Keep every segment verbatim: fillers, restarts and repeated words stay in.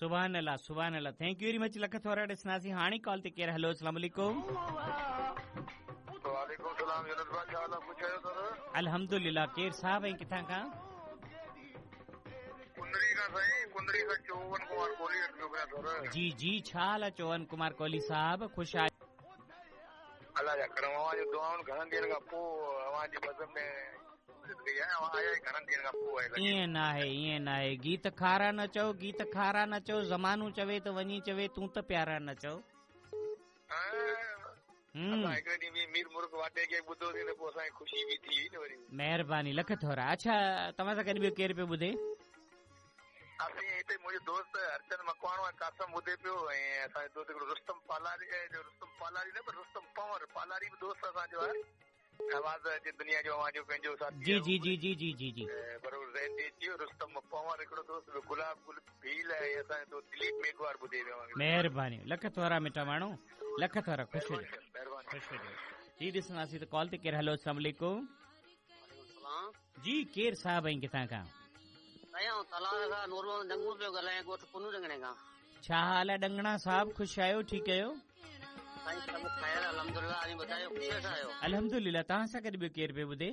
सुभान अल्लाह सुभान अल्लाह। Thank you very much, lakh थोरा ॾिसंदासीं हाणे कॉल ते केरु। हलो अस्सलाम वालेकुम। वालेकुम सलाम यूनुस भाई, छा हाल आहे? ख़ुशि आहियो सर? अल्हम्दुलिल्लाह। केरु साहिब ऐं किथां खां? कुंदड़ी खां साईं, कुंदड़ी खां चोवन कुमार कोहली पियो कयां सर। जी जी, छा हाल आहे चोवन कुमार कोहली साहिब? ख़ुशि आहियो? अलाह जा करम, अव्हां जो दुआउनि घणनि ॾींहनि खां पोइ अव्हां जी बज़म में ईअं न आहे, ईअं न आहे। गीत खारा न चओ, गीत खारा न चओ, ज़मानो चवे त वञी चवे, तूं त प्यारा न चओ। महिरबानी, लख थोरा। अच्छा, तव्हां सां गॾु ॿियो केरु पियो ॿुधे? असीं हिते मुंहिंजो दोस्त हरचंद मकवाणो ऐं कासम ॿुधे पियो, ऐं असांजो दोस्त हिकिड़ो रुस्तम पालारी, रुस्तम पालारी न पर रुस्तम पंवर पालारी बि दोस्त असांजो आहे। आवाज़ जे दुनिया जो अव्हांजो पंहिंजो साथी। जी जी जी जी जी जी जी बरोबर ज़हन ते अची वियो। रुस्तम पंवर हिकिड़ो दोस्त, ॿियो गुलाब गुल भील ऐं असांजो दोस्त दिलीप मेघवार ॿुधे पियो। महिरबानी, लख थोरा मिठा माण्हू, लख थोरा। ख़ुशि हुजो, ख़ुशि हुजो। जी ॾिसंदासीं त कॉल ते केरु। हलो अस्सलाम वालेकुम। जी केरु साहिब ऐं किथां खां? छा हाल आहे डंगणा साहिब? ख़ुशि आहियो? ठीकु आहियो? अल्हम्दुलिल्लाह। तव्हां सां गॾु ॿियो केरु पियो ॿुधे?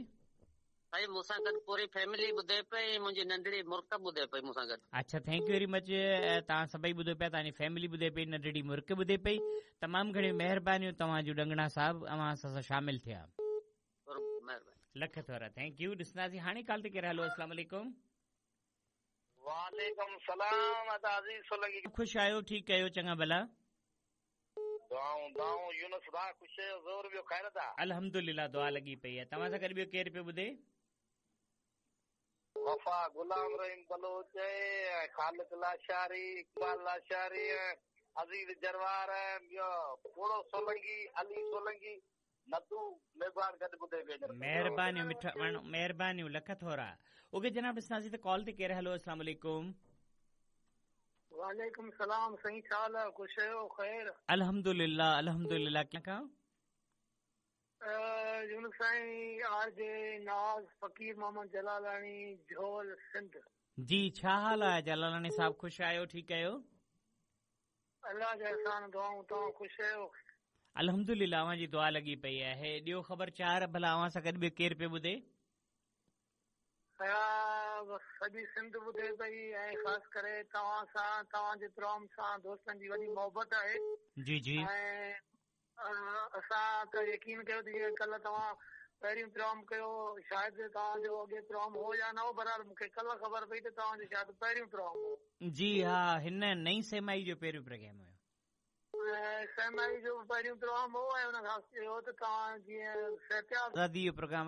मूंसां गॾु पूरी फैमिली ॿुधे पई, मुंहिंजी नंढड़ी मुर्क ॿुधे पई मूंसां गॾु। अच्छा, thank you very much. तव्हां सभई ॿुधो पिया, तव्हांजी फैमिली ॿुधे पई, नंढड़ी मुर्क ॿुधे पई। तमामु घणियूं महिरबानियूं तव्हांजूं डंगणा साहिब, अव्हां असां सां शामिल थिया। लख थोरा, thank you. ॾिसंदासीं हाणे कॉल ते केरु। हलो अस्सलाम वालेकुम। वालेकुम सलाम। अदा अज़ीज़ सोलंकी, ख़ुशि आहियो? ठीकु आहियो? चङा भला? दुआऊं दुआऊं यूनुस भाउ, ख़ुशि आहियो? ज़ोर ॿियो ख़ैर था? अल्हम्दुलिल्लाह, दुआ लॻी पई आहे। तव्हां सां गॾु ॿियो केरु पियो ॿुधे? वफ़ा गुलाम रहीम बलोच, ख़ालिद लाशारी, इक़बाल लाशारी, अज़ीज़ जरवार, ॿियो पोड़ो सोलंकी, अली सोलंकी, नदू मेघवार गॾु ॿुधे पियो। महिरबानियूं मिठा माण्हू, महिरबानियूं, लख थोरा। ओके जनाब, ॾिसंदासीं त कॉल ते केरु। हलो अस्सलाम वालेकुम। वालेकुम सलाम साईं, छा हाल आहे? ख़ुशि आहियो? ख़ैर? अल्हम्दुलिल्लाह अल्हम्दुलिल्लाह। कंहिं यूनुस साईं, आर जे नाज़ फ़क़ीर मोहम्मद जलालानी, झोल सिंध। जी छा हाल आहे जलालानी साहिब? ख़ुशि आहियो? ठीकु आहियो? अलाह जा एहसान, दुआऊं। तव्हां ख़ुशि आहियो? अल्हम्दुलिल्लाह, अव्हांजी दुआ लॻी पई आहे। ॾियो ख़बर चार, भला अव्हां सां गॾु ॿियो केरु पियो ॿुधे? सॼी सिंध ॿुधे पई, ऐं ख़ासि करे तव्हां सां, तव्हांजे प्रोग्राम सां दोस्तनि जी वॾी मोहबत आहे। जी जी। ऐं असां त यकीन कयो त जीअं कल्ह तव्हां पहिरियों प्रोग्राम कयो, शायदि तव्हांजो अॻे प्रोग्राम हो या न हो, बहरहाल मूंखे कल्ह ख़बर पई त तव्हांजो शायदि पहिरियों प्रोग्राम हो। जी हा, हिन नई सेमाई जो पहिरियों प्रोग्राम हुयो। ऐं सेमाई जो पहिरियों प्रोग्राम हो, ऐं हुन खां इहो त तव्हां जीअं आज़ादी जो प्रोग्राम